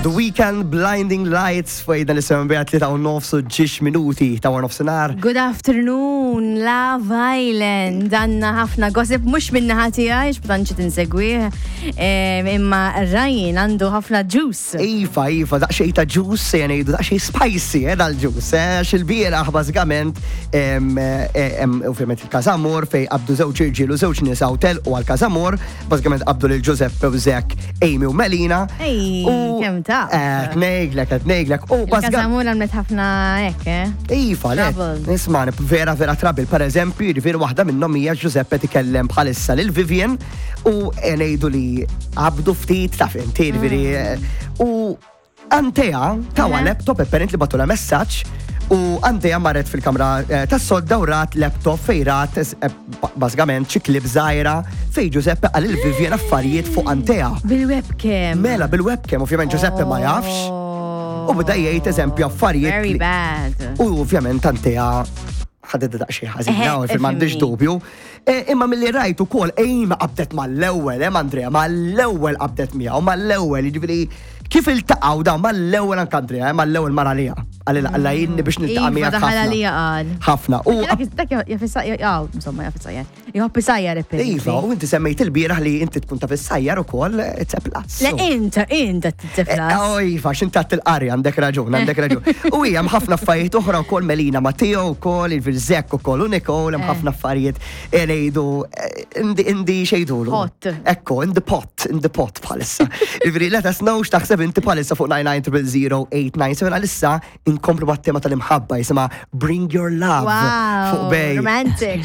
The Weekend Blinding Lights fuq dan is-sema bija 3 u nofs u ġiex minuti ta' war nofsinhar. Good afternoon, Love Island. Għanna ħafna gossip mhux minna ħati għax b'tantx tinsegwih. Imma Ryan għandu ħafna juice. Iva, iva, daqsxejn ta' juice, se ngħidu daqsxejn spicy, dal-juice, għax il-bieraħ bażikament, ovvjament il-Każamor fejn qabdu żewġ irġiel u żewġ nisa u telqu għal Każamor, bażikament qabdu lil Giuseppe u Zek, Amy u Melina. Ej, kemm ta' Qed ngħidlek, qed ngħidlek. U bażikament Il-Każamor għamlet ħafna hekk, eh? Iva, le. Trouble. Isma' vera vera trouble. Per eżempju, jiġifieri waħda minnhom hija Giuseppe tikellem bħalissa lil Vivian u ngħidu li qabdu ftit taf inti, jiġifieri u Antea tawa laptop apparently bagħtulha messaġġ u Antea marret fil-kamra tas-sodda u rat laptop fejn rat bażikament xi clip żgħira fejn Giuseppe qal lil Vivian affarijiet fuq Antea. Bil-webcam. Mela bil-webcam, ovvjament Giuseppe ma jafx. U beda jgħid eżempju affarijiet. Very bad. U ovvjament Antea ħadet daqsxejn ħażina, u m'għandix dubju. Imma milli rajt ukoll Amy qabdet mal-ewwel, Andrea, mal-ewwel qabdet miegħu, mal-ewwel, jiġifieri kif iltaqgħu dawn mal-ewwel anke Andrea, mal-ewwel mar għaliha. Qalilha alla jgħinni biex niltaqa' Iva, miegħek daħal ħafna. għalija qal. Ħafna. U Dak jaf issajjar, insomma, jaf issajjar. Jħobb isajjar apparently. Iva, u inti semmejt il-bieraħ li inti tkun taf issajjar ukoll, it's a plus. Le, int, int it's a plus. Oh, iva, x'int għadt il-qari, għandek raġun, għandek raġun. U hija hemm ħafna affarijiet oħra wkoll Melina Matteo wkoll, il-Zek ukoll u Nicole, hemm ħafna affarijiet ngħidu in the xejdulu. Pot. Ekku, in the pot, in the pot bħalissa. Ivri, let us know x'taħseb inti bħalissa fuq 99000897 għalissa inkomplu mat-tema tal-imħabba jisimha Bring Your Love Wow, fuq Bay. romantic.